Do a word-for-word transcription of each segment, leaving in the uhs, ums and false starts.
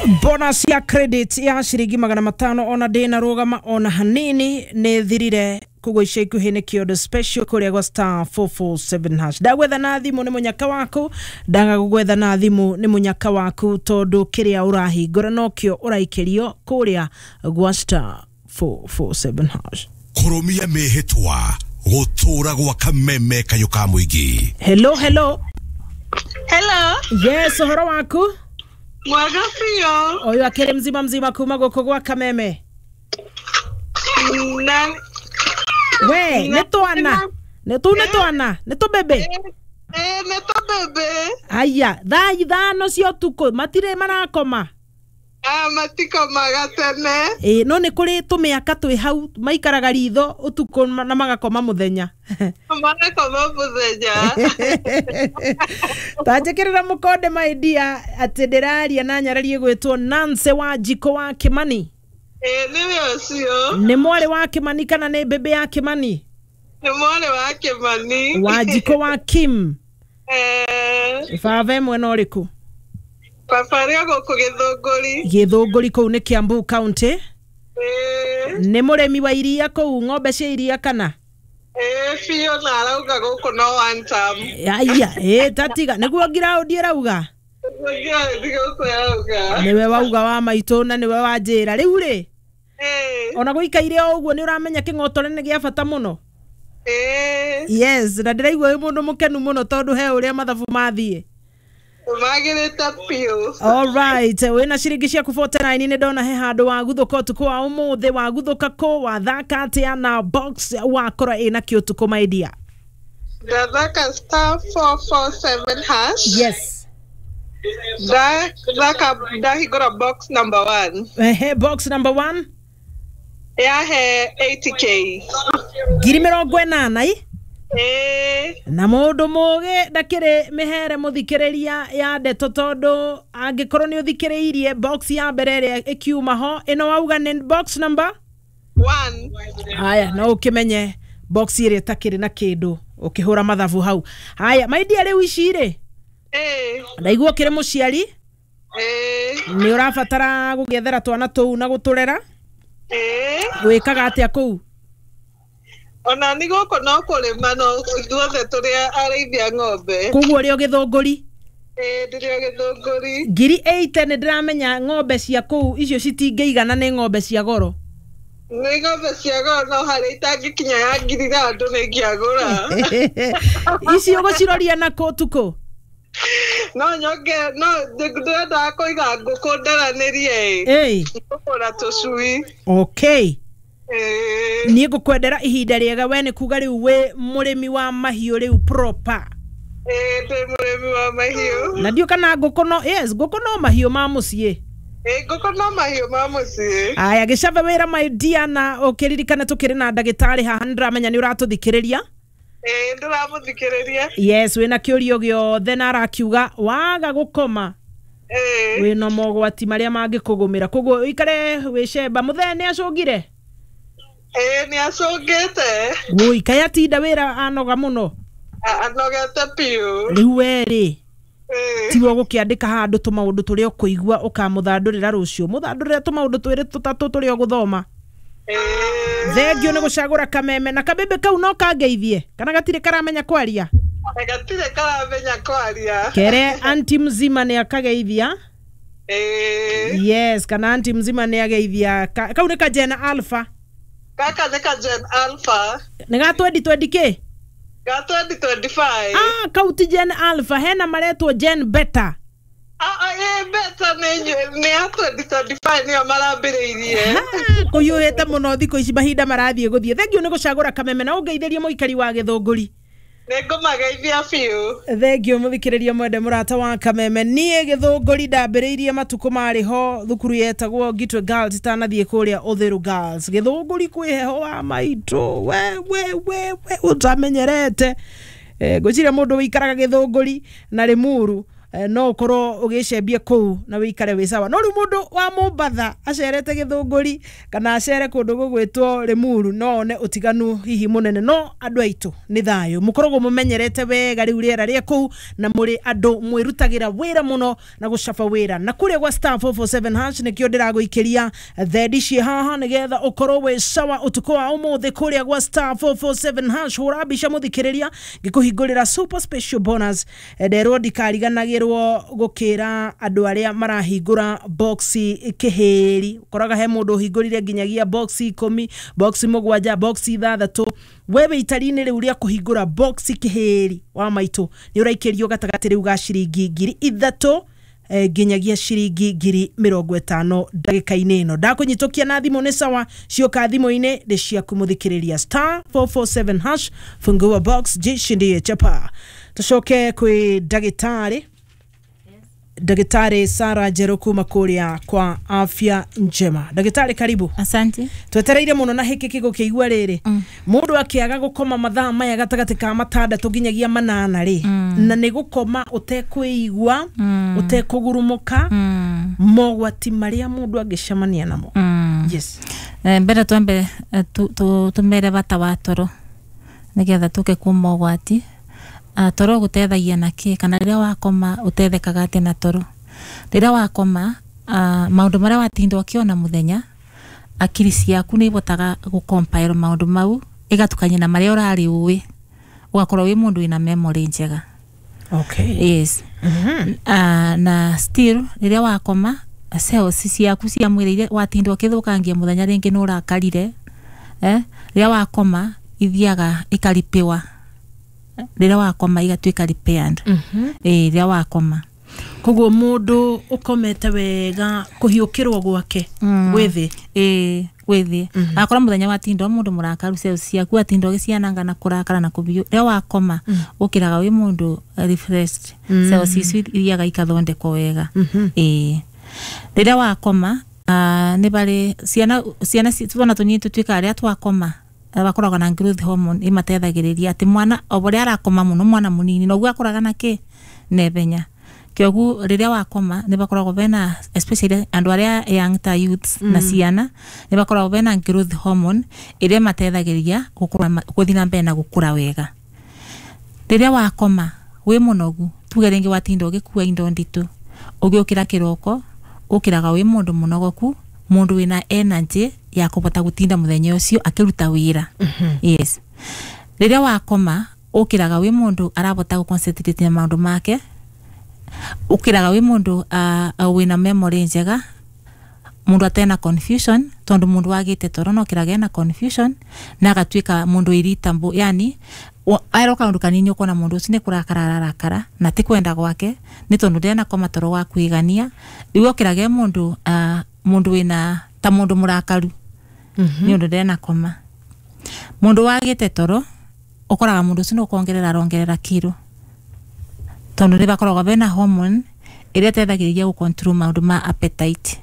Bonus ya credit ya ciringi magana matano ona ndina rugama ona hanini nĩ thirire koguo ica ikuhĩ nĩ kĩondo special kũrĩa gwa star four four seven hash. Ndagwetha na thimũ nĩ mũnyaka waku, ndaga gũgwetha na thimũ nĩ mũnyaka waku tondũ kĩrĩa ũrahingũra nokĩo ũraikĩrio kũrĩa gwa star four four seven hash. Kũrũmia mĩhĩtwa gũtũra gwa kameme kayũ ka mũingĩ. Hello, hello. Hello. Yes, ũhoro waku? Mwega biũ. Ũyũ akĩrĩ mzima mzima kuma gũkũ gwa kameme. Na we nĩ twana nĩ tu nĩ twana nĩ tũbebe. Eh, nĩ tũbebe. Aya, thaa ithano cia ũtukũ matirĩ marakoma. Ah, matikomaga tene. Ĩ, no nĩ kũrĩ tũmĩaka twĩ hau maikaraga ritho ũtukũ na magakoma mũthenya. Magakoma mũthenya. Ta njĩkĩrĩra mũkonde my dear atĩ ndĩraria na nyararie gwĩtwo Nancy wa Njiko wa Kimani. Ĩ, nĩwe ũcio. Nĩ mwarĩ wa Kimani kana nĩ mbĩmbĩ ya Kimani? Nĩ mwarĩ wa Kimani. Wa Njiko wa Kim. Eh. Baba e mwena ũrĩkũ? Baba arĩ o gũkũ Gĩthũngũri. Gĩthũngũri kũu nĩ Kiambu County. Ĩĩ. Nĩ mũrĩmi wa iria kũu, ng'ombe cia iria kana? Ĩĩ biũ, na arauga gũkũ no one term. Aya, ĩ tatiga nĩguo ngiraũndi ĩrauga. Nĩguo ngiraũndi gũkũ ĩrauga. Nĩwe wauga wa maitũ na nĩwe wanjĩra. Rĩu rĩ, Ĩĩ. ona gũikaire o ũguo nĩ ũramenya kĩng'otore nĩ gĩa bata mũno. Ĩĩ. Yes, na ndĩraigua wĩ mũndũ mũkenu mũno tondũ he ũrĩa mathabu mathiĩ. Magĩrĩte biũ. All right, wĩna ciringi ciaku forty nine nĩ ndona he handũ waguthũka ũtukũ wa ũmũthĩ, waguthũka kũ, wathaka atĩa na box wakora ĩna kĩ ũtukũ my dear? Ndathaka star four four seven hash. Yes. Ndathaka ndahingũra box number one. Ehe, box number one. Yahe eighty K. Ngiri mĩrongo ĩnana i? Ĩĩ. Na mũndũ mũgĩ ndakĩrĩ mĩhere mũthikĩrĩria ya ndeto tondũ angĩkorwo nĩ ũthikĩrĩirie box ya mbere ĩrĩa ĩkiuma ho, ĩno wauga nĩ box number one. Haya, no ũkĩmenye box ĩrĩa ĩtakĩrĩ na kĩndũ ũkĩhũra mathabu hau. Haya, my dear, rĩu ici rĩ? Ĩĩ. Ndaigua ũkĩrĩ mũciari? Ĩĩ. Nĩ ũrabatara gũgĩethera twana tũu na gũtũrera? Ĩĩ. Wĩkaga atĩa kũu? Ona nĩ gũkũ no kũrĩma no ithuothe tũrĩ arĩithia ng'ombe. Koguo ũrĩ o Gĩthũngũri? Ĩĩ, ndĩrĩ o Gĩthũngũri. Ngiri eighty nĩ ndĩramenya ng'ombe cia kũu icio citingĩigana nĩ ng'ombe cia goro. Nĩ ng'ombe cia goro no harĩa itangĩkinya ya ngiri ithathatũ nĩ ingĩagũra. Ici ũgũciroria nakũ ũtukũ? No nyonge, no ndĩrendaga kũiga ngũkũ ndaranĩrie ĩ. Ĩĩ. Ngũkũra tũcui. Okay. Ĩĩ. Niĩ ngũkwendera ihinda rĩega we nĩ kuga rĩu wĩ mũrĩmi wa mahiũ rĩu proper. Ĩĩ, ndĩ mũrĩmi wa mahiũ. Na ndiũ kana ngũkũ no, yes, ngũkũ no mahiũ ma mũciĩ. Ĩĩ, ngũkũ no mahiũ ma mũciĩ. Aya, gĩcabe wĩra my dear, na ũkĩririkane tũkĩrĩ na ndagĩtarĩ haha, nĩndĩramenya nĩ ũratũthikĩrĩria. Ĩĩ, ndĩramũthikĩrĩria. Yes, wĩna kĩũrio gĩothe na arakiuga waga gũkoma. Ĩĩ. Wĩna mogwati marĩa mangĩkũgũmĩra. Koguo ũikare wĩcemba. Mũthee nĩ acũngire? Ĩĩ, nĩ acũngĩte. Wũi, kaĩ atinda wĩra anoga mũno? Anogete biũ. Rĩu we rĩ, Ĩĩ. tiwe ũgũkĩandĩka handũ tũmaũndũ tũrĩa ũkũigua ũkamũthandũrĩra rũciũ. Mũthandũrĩre tũmaũndũ twĩrĩ tũtatũ tũrĩa ũgũthoma. Ĩĩ. Thengio nĩ gũcagũra kameme na kabebe kau no kangeithie kana gatirĩ karamenya kwaria? Gatirĩ karamenya kwaria. Kere anti mzima nĩ akageithia. Ĩĩ. Yes, kana anti mzima nĩ ageithia. Ka, kau nĩ ka Gen Alpha. Gaka nĩ ka Gen Alpha. Nĩ ga twenty twenty kĩ? Ga twenty twenty-five. Ah, kau ti Gen Alpha, hena maretwo Gen Beta. Ah, ah, ĩ, Beta nĩ nĩ ya twenty twenty-five nĩyo marambĩrĩirie. Kũiyũhĩte mũno thikũ ici mahinda marathiĩ gũthiĩ. Thengio nĩ gũcagũra kameme na ũngeithĩrie mũikari wa Gĩthũngũri. Nĩngũmageithia biũ. Thengio mũthikĩrĩria mwende mũrata wa kameme. Niĩ Gĩthũngũri ndambĩrĩirie matukũ marĩ ho thukuru yetagwo Gitwe Girls itanathiĩ kũrĩa Ũthĩru Girls. Gĩthũngũri kwĩ heho wa maitũ. We, we, we, we, ũtamenyerete. Eh, ngwĩciria mũndũ wĩikaraga Gĩthũngũri na Rĩmuru no ukorwo ugicembia kuu na wikare wi sawa. No riu mundu wa Mombatha acerete Githunguri kana acere kundu gugwitwo Limuru no one utiganu hihi munene. No andu aitu ni thayu, mukoragwo mumenyerete wega riu riera ria kuu na muri andu mwirutagira wira muno na gucaba wira. Na kuria gwa star four four seven hash nikio ndiraguikiria thendi ci haha nigetha ukorwo wi sawa utuku wa umuthi kuria gwa star four four seven hash. Hura mbica muthikiriria ngikuhingurira super special bonus. Nderwo ndikariganagirwo gukira andu aria marahingura box kihiri. Ukoraga he mundu uhingurire nginyagia box ikumi, box mugwanja, box ithathatu. Wewe itari-inĩ rĩu rĩa kũhingũra box kihiri wa maitũ nĩ ũraikĩrio gatagatĩ rĩu ga ciringi ngiri ithatũ nginyagia ciringi ngiri mĩrongo ĩtano ndagĩka-inĩ ĩno. Ndakũnyitũkia na thimũ nĩ sawa, cioka thimũ-inĩ nĩ ciaku mũthikĩrĩria. Star four four seven hash, fungua box jishindie chapa. Tucoke kwĩ ndagĩtarĩ Daktari Sara Njeru kuma kuria kwa Afya Njema. Daktari, karibu. Asante. Twetereire muno na hiki kigukiigua riri. Mm. Mundu akiaga gukoma mathaa maya gatagati ka matandatu nginyagia manana ri. Mm. Na ni gukoma utekwiigua, mm. utekugurumuka, mm. mogwati maria mundu angicemania namo. Mm. Yes. Eh, mbere twambe tumere bata wa toro nigetha tuke ku mogwati. Uh, toro gutethagia na ki kana riria wakoma utethekaga atia na toro. Riria wakoma uh, maundu maria watinda ukiona muthenya, akiri ciaku ni ibotaga gucompile maundu mau igatukania na maria urari ui, ugakorwo wi mundu wina memory njega. Okay. Yes. Mm-hmm. Uh, na still riria wakoma cells ciaku cia mwiri iria watinda ukithukangia muthenya ringi ni urakarire, eh riria wakoma ithiaga ikaripiwa. Rĩrĩa wakoma igatuĩka repaired. Mm-hmm. Eh, rĩrĩa wakoma. Koguo mundu ukomete wega kuhiukirwo gwake mm. gwithi. Eh, gwithi. Mm -hmm. Akora muthenya watinda mundu murakaru cells ciaku atinda ugiciananga na kurakara na kubiu. Rĩrĩa wakoma mm. ukiraga wi mundu refreshed. Mm. Cells icio ithiaga ikathondekwo wega. Mm -hmm. Eh. Rĩrĩa wakoma uh, ni bari ciana ciana twana tunini tutuika aria twakoma bakoragwo na growth hormone imatethagĩrĩria atĩ mwana o ũrĩa arakoma mũno mwana mũnini noguo akũraga na kĩ nethenya. Kĩoguo rĩrĩa wakoma nĩ bakoragwo bena especially andũ arĩa young ta youths mm. na ciana nĩ bakoragwo bena growth hormone ĩrĩa ĩmatethagĩrĩria gũkũra gũthiĩ na mbere na gũkũra wega. Rĩrĩa wakoma wĩ mũnogu tuge rĩngĩ watinda ũgĩkua indo nditũ, ũgĩũkĩra kĩroko ũkĩraga wĩ mũndũ mũnogoku, mundu wina energy ya kubota gutinda muthenya ucio akiruta wira. Mm -hmm. Yes. Riria wakoma ukiraga wi mundu arabota gu concentrate na maundu make, ukiraga wi mundu uh, wina memory njega, mundu atena confusion tondu mundu wagite toro no kiraga na confusion na agatuika mundu irritable, yani aero kaundu kanini ukona mundu ucio ni kurakara ararakara na ti kwenda gwake ni tondu ndena koma toro wa kwigania. Riu ukiraga mundu uh, mundu wina ta mundu murakaru mm -hmm. ni undu ndena koma. Mundu wagite toro ukoraga mundu ucio nukwongerera arongerera kiro tondu ni bakoragwo bena hormone iria ĩteithagĩrĩria gu control maundu ma appetite.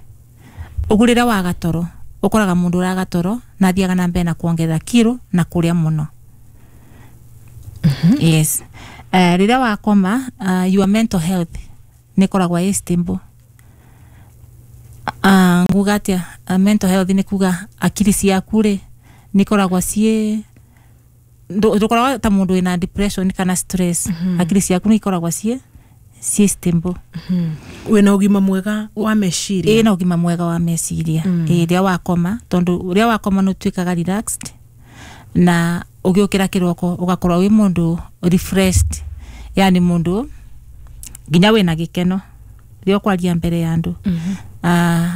Uguo rĩrĩa waga toro ukoraga mundu uraga toro na athiaga na mbere na kuongerera kiro na kuria muno. Mm -hmm. Yes. Uh, rĩrĩa wakoma uh, your mental health ni koragwo ĩ stable. Uh, nguga atia uh, mental health ni kuga akili ciaku ri ni koragwo ciĩ ndukoragwo ta mundu wina depression kana stress. Mm -hmm. Akili ciaku ni ikoragwo ciĩ ciĩ stable. Mm -hmm. Wina ugima mwega wa meciria. Ĩ na ugima mwega wa meciria. Mm. Ĩ rĩrĩa wakoma tondu rĩrĩa wakoma nĩ ũtuĩkaga relaxed na ũgĩũkĩra kĩroko ũgakorwo wĩ mũndũ refreshed, yani mũndũ nginya wĩna gĩkeno rĩrĩa ũkwaria mbere ya andũ. Mm -hmm. Uh,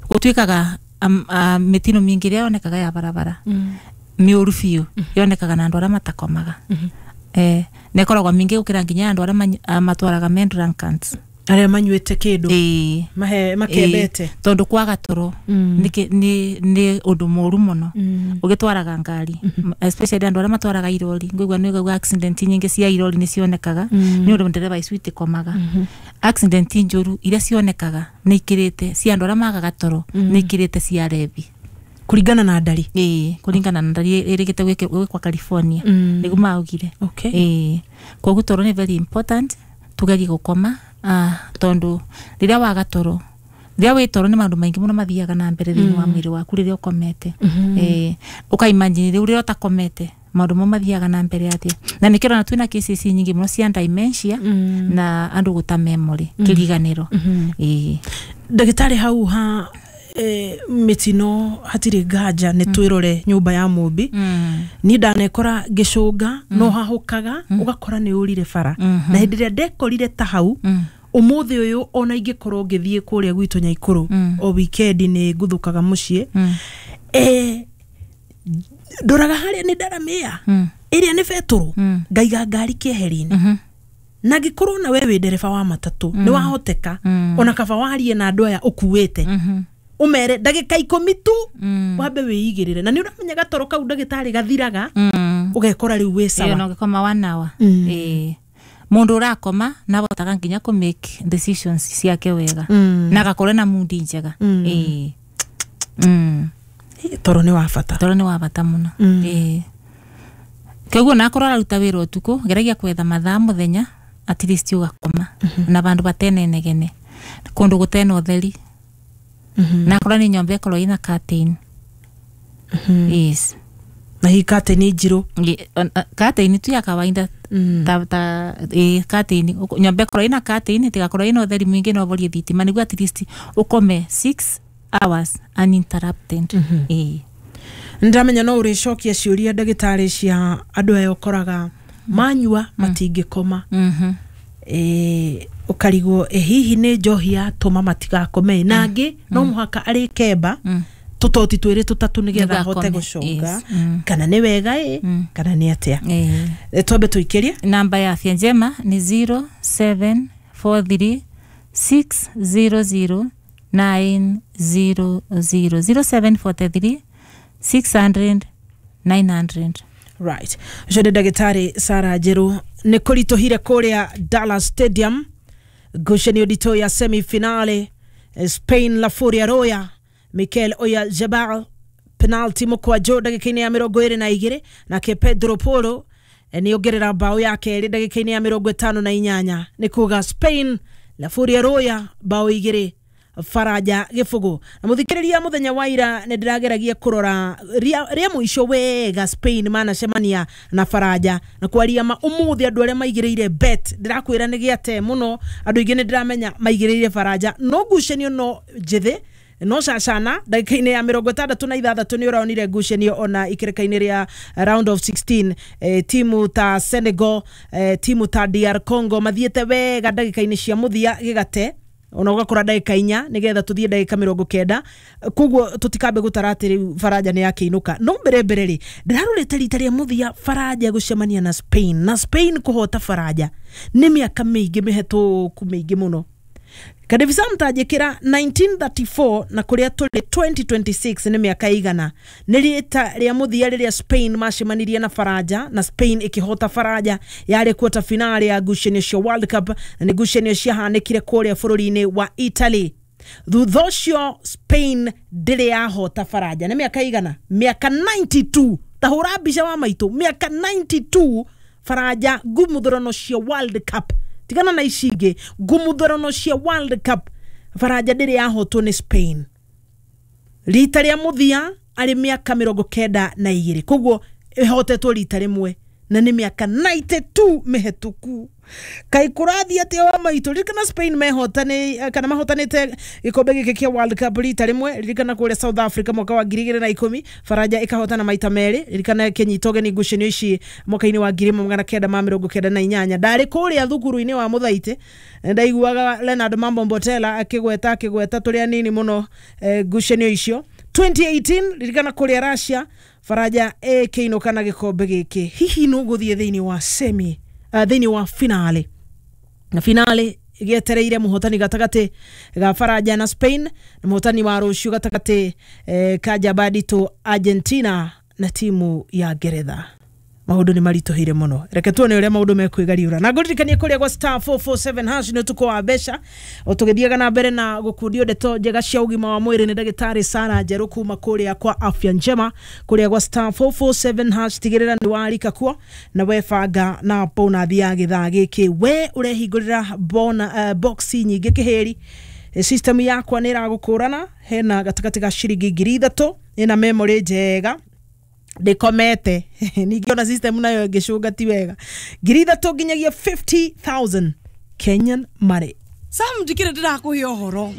gutuikaga um, uh, mitino mingi ria yonekaga ya barabara mm. miuru biu mm. yonekaga na andu aria matakomaga. Mm -hmm. Eh, nekoragwo mingi gukira nginya andu aria uh, matwaraga men drunkards aria manyuite kindu eh mahe makembete eh, tondu kwaga toro mm. ni ni ni undu muru muno mm. ugitwaraga ngari mm -hmm. especially andu aria matwaraga irori ngwigua ni ngwigua accident nyingi cia irori ni cionekaga mm. ni undu ndereba icu itikomaga. mm -hmm. Accident njuru iria cionekaga ni ikirite cia andu aria magaga toro mm. ni ikirite cia rebi kuringana na ndari. Eh, kuringana na ndari irigite gwikwa California mm. niguo maugire. Okay. Eh, koguo toro ni very important tugerie gukoma Ah, tondu riria waga toro riria wi toro ni maundu maingi muno mathiaga na mbere thiini wa mwiri waku riria ukomete. Eh, ukaimagine riu riria utakomete maundu mo mathiaga na mbere atia, na nikiro na twina cases nyingi muno cia dementia na andu guta memory kiriganiro. Eh, ndagĩtarĩ hau ha eh, mĩtino hatirĩ nganja nĩ twĩrore nyũmba ya mũmbi. Niĩ ndanekora ngĩcũnga no hahũkaga ũgakora nĩ ũrire bara, na hĩndĩ ĩrĩa ndekorire ta hau ũmũthĩ ũyũ ona ingĩkorwo ngĩthiĩ kũrĩa gwitũ Nyaikũrũ o weekend nĩ nguthũkaga mũciĩ, eh, ndoraga harĩa nĩ ndaramĩa ĩrĩa nĩ betũrũ ngaiga ngari kĩeheri-inĩ, na ngĩkorwo na we wĩ ndereba wa matatũ nĩ wahoteka ona kaba warie na andũ aya ũkuĩte ũmere ndagĩka ikũmi tu wambe wĩigĩrĩre, na nĩ ũramenya gatoro kau ndagĩtarĩ gathiraga ũgekora rĩu wĩ sawa. Ĩyo no gĩkoma one hour. Eh, mundu urakoma nabotaga nginya ku make decisions ciake wega na agakorwo na mundi njega. Eh, mm. Toro nĩ wa bata. Toro nĩ wa bata muno. Eh, koguo nakorwo araruta wĩra ũtukũ geragia kwetha mathaa mũthenya at least ugakoma na bandu batene negene kundu gutena utheri nakorwo ni nyomba ikorwo ina curtain. Yes. Na hii curtain njirũ? Curtain tu ya kawaida ta ta eh curtain nyomba ikorwo ina curtain tigakorwo ina utheri mwingi no borie thitima niguo at least ukome six hours uninterrupted. Eh, ndamenya no ũrĩcokia ciũria ndagĩtarĩ cia andũ aya ũkoraga manyua matingĩkoma. Eh, ũkarigwo eh, hihi nĩ njohi yatũma matigakome, na angĩ no mũhaka arĩkemba tũtoti twĩrĩ tũtatũ nĩgetha ahote gũcũnga, kana nĩ wega ĩ kana nĩ atĩa. Twambe tũikĩrie namba ya Afya Njema ni zero seven four three six zero zero nine zero zero zero seven four three six hundred nine hundred. Right. Ũcio nĩ ndagĩtarĩ Sarah Njeru. Nĩ kũritũhire kũrĩa Dallas Stadium ngucanio nditũ ya semi-finale, Spain La Furia Roya Mikel Oyarzabal penalty mũkwanjũ ndagĩka-inĩ ya mĩrongo ĩrĩ na igĩrĩ, nake Pedro Porro nĩ ongerera bao ya kerĩ ndagĩka-inĩ ya mĩrongo ĩtano na inyanya. Nĩ kuga Spain La Furia Roya bao igĩrĩ Faraja gĩbũgũ. Na mũthikĩrĩria mũthenya wa ira nĩ ndĩrageragia kũrora rĩa mũico wega Spain manacemania na Faraja, na kwaria ma ũmũthĩ andũ arĩa maigĩrĩire bet ndĩrakwĩra nĩ gĩate mũno, andũ aingĩ nĩ ndĩramenya maigĩrĩire Faraja, no ngucanio no njĩthĩ no cacana ndagĩka-inĩ ya mĩrongo ĩtandatũ na ithathatũ nĩ ũraonire ngucanio ona ikĩrĩka-inĩ rĩa round of sixteen, eh, timu ta Senegal, eh, timu ta D R Congo mathiĩte wega ndagĩka-inĩ cia mũthia gĩgate ona ũgakora ndagĩka inya nĩgetha tũthiĩ ndagĩka mĩrongo kenda, koguo tũtikambe gũtara atĩ rĩu Faraja nĩ yakĩinũka. No mbere mbere rĩ ndĩrarorete rita rĩa mũthia Faraja gũcemania na Spain na Spain kũhota Faraja nĩ mĩaka mĩingĩ mĩhetũku mĩingĩ mũno. Kadevisa mtajikira nineteen thirty-four na kũrĩa tũrĩ twenty twenty-six nĩ mĩaka igana nĩ rita rĩa mũthia rĩrĩa Spain macemanirie na Faraja na Spain ĩkĩhota Faraja yarĩ quarter finale ya ngucanio cia World Cup, na nĩ ngucanio ciahanĩkire kũrĩa bũrũri-inĩ wa Italy. Thutha ũcio Spain ndĩrĩ yahota Faraja nĩ mĩaka igana, mĩaka ninety-two. Ta hũra mbica wa maitũ, mĩaka ninety-two Faraja ngumuthurano cia World Cup, tigana na ici ingĩ, ngumuthurano cia World Cup Faraja ndĩrĩ yahotwo nĩ Spain rita rĩa mũthia arĩ mĩaka mĩrongo kenda na igĩrĩ, koguo ĩhotetwo rita rĩmwe na nĩ mĩaka ninety-two mĩhetũku. Kaĩ kũrathiĩ atĩa wa maitũ? Ririkana Spain mehotane kana mahotanĩte gĩkombe gĩkĩ kĩa World Cup rita rĩmwe, ririkana kũrĩa South Africa mwaka wa ngiri igĩrĩ na ikũmi Faraja ĩkahotana maita merĩ, ririkana ĩkĩnyita ũgeni ngucanio ici mwaka-inĩ wa ngiri ĩmwe magana kenda ma mĩrongo kenda na inyanya. Ndarĩ kũrĩa thukuru-inĩ wa Mũthaitĩ ndaiguaga Leonard Mambo Mbotela akĩgweta akĩgweta tũrĩ anini mũno ngucanio icio. twenty eighteen ririkana kũrĩa Russia Faraja ĩkĩinũka na gĩkombe gĩkĩ. Hihi nũ gũthiĩ thĩinĩ wa semi Uh, thĩinĩ wa finale, na finale gĩetereire mũhotani gatagatĩ ga Faraja na Spain na mũhotani wa rũciũ gatagatĩ eh, ka Jabadito Argentina na timu ya Ngeretha. Maundu ni marituhire muno. Reke tuone uria maundu mekwigariura. Na ngũririkanie kuria gwa star four four seven hash ni utuko wa mbeca. Tugithiaga na mbere na gukundio ndeto njega cia ugima wa mwiri ni ndagitari Sara Njeru kuma kuria kwa Afya Njema kuria gwa star four four seven hash. Tigirira ni warika kuo na webanga na bonathi ya githaa giki we urehingurira bona uh, box nyingi kiheri. System yakwa ni iragukurana hena gatagati ga ciringi ngiri ithatu ina memory njega ndikomete ningĩ ona system nayo ĩngĩcũnga ti wega ngiri ithatu nginyagia fifty thousand Kenyan money. Sam ndikire ndirakuhe ũhoro.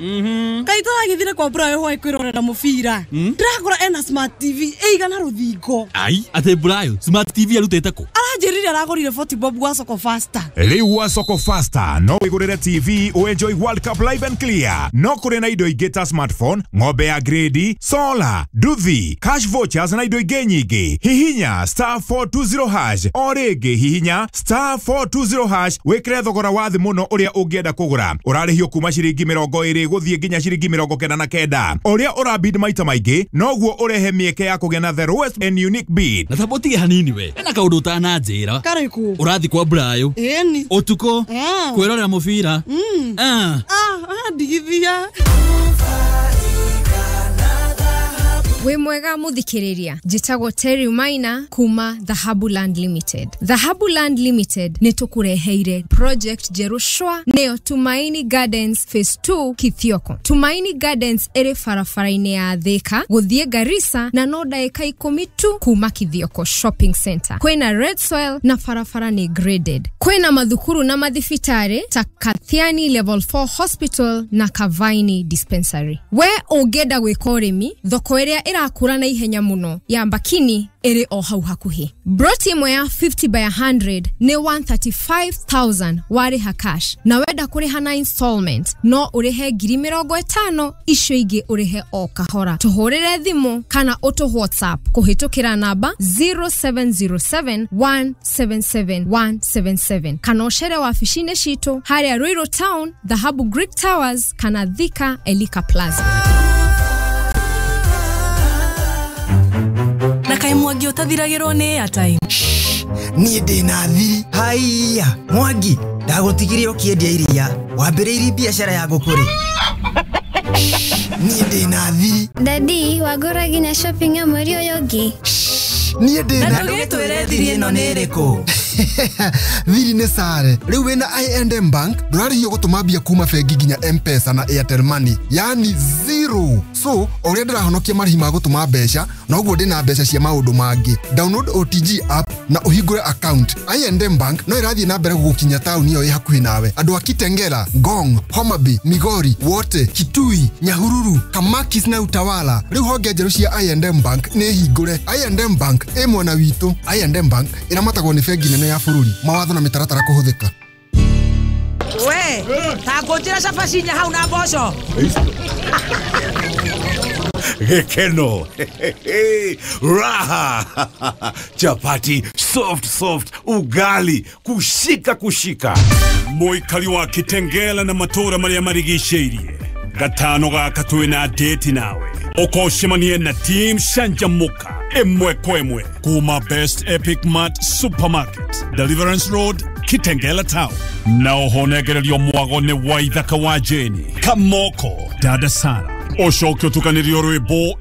Kai tũragĩthire kwa Brayo hwaĩ kwĩrorera mũbira. Ndĩrakora ena smart T V ĩigana rũthingo. Ai, atĩ Brayo smart T V arutĩte kũ? Aranjĩrire aragũrire forty bob gwa Soko Faster. Rĩu gwa Soko Faster no wĩgũrĩre T V ũenjoy World Cup live and clear. No kũrĩ na indo ingĩ ta smartphone, ng'ombe ya grade, solar, nduthi, cash vouchers na indo ingĩ nyingĩ. Hihinya star four two zero hash o rĩngĩ hihinya star four two zero hash wĩkĩre thogora wa thĩ mũno ũrĩa ũngĩenda kũgũra. Ũrarĩhio kuma ciringi mĩrongo ĩrĩ gũthiĩ nginya ciringi mĩrongo kenda na kenda. Ũrĩa ũrabid maita maingĩ noguo ũrehe mĩeke ya kũgĩa na the lowest and unique bid. Na tamba ũtige hanini we. Ena kaũndũ ũtananjĩra. Karĩkũ? Ũrathiĩ kwa Brayo. Ĩni. Ũtukũ. Kwĩrorera mũbira. Ah. Ah, ndigithia. Wĩ mwega muthikiriria, njĩtagwo Terry Maina kuma Dhahabu Land Limited. Dhahabu Land Limited nĩ tũkũreheire project njerũ shwa nĩyo Tumaini Gardens Phase two Kithioko. Tumaini Gardens ĩrĩ barabara-inĩ ya Thika gũthiĩ Garissa na no ndagĩka ikũmi tu kuma Kithioko Shopping Center. Kwĩna red soil na barabara nĩ graded. Kwĩna mathukuru na mathibitarĩ ta Kathiani Level four Hospital na Kavaini Dispensary. We ũngĩenda gwĩka ũrĩmi, thoko ĩrĩa ĩrakũra na ihenya mũno ya Mbakini ĩrĩ o hau hakuhĩ. Broti ĩmwe ya fifty by a hundred nĩ one thirty-five thousand warĩha cash, na wenda kũrĩha na installment no ũrĩhe ngiri mĩrongo ĩtano, icio ingĩ ũrĩhe o kahora. Tũhũrĩre thimũ kana ũtũ WhatsApp kũhĩtũkĩra namba zero seven zero seven one seven seven one seven seven kana ũcere wabici-inĩ citũ harĩa Ruiru Town, Dhahabu Greek Towers kana Thika Elika Plaza. Kai Mwangi ũtathiragĩrwo nĩ airtime. Niĩ ndĩna thiri. Haiya, Mwangi, ndagũtigire ũkĩendia iria. Wambĩrĩirie biacara ya ngũkũ rĩ? Niĩ ndĩna thiri. Daddy, wagũra nginya shopping ya mweri ũyũ ũngĩ? Niĩ ndĩna. Na ndũgĩtwĩre thiri ĩno nĩ ĩrĩkũ? Thiri nĩ sare. Rĩu wĩna I and M Bank ndũrarĩhio gũtũma mbia kuma bengi nginya M-Pesa na Airtel Money, yani zero. So ũrĩa ndĩrahonokia marĩhi ma gũtũma mbeca noguo ndĩna mbeca cia maũndũ mangĩ. Download O T G app na ũhingũre account. I and M Bank no ĩrathiĩ na mbere gũgũkinya taũni ĩyo ĩ hakuhĩ nawe. Andũ a Kitengela, Ngong, Homa Bay, Migori, Wote, Kitui, Nyahururu, Kamakis na Utawala. Rĩu honge njerũ cia I and M Bank nĩ hingũre. I and M Bank ĩ mwena witũ. I and M Bank ĩramatagwo nĩ bengi nene ya bũrũri. Mawatho na mĩtaratara kũhũthĩka. We, ta ngũnjĩra cabaci inya hau na mboco. Gĩkeno, raha, chapati soft soft, ugali kushika kushika. Mũikari wa Kitengela na matũra marĩa marigicĩirie gatano gaka twĩna date nawe ũkocemanie na team Canjamũka ĩmwe kwa ĩmwe kuma Best Epic Mart Supermarket, Deliverance Road, Kitengela Town. Na ũhonegererio mwago nĩ Waithaka wa Jeni, Kamoko, Dada Sara. Ũcoke ũtukanĩrio rwĩmbo.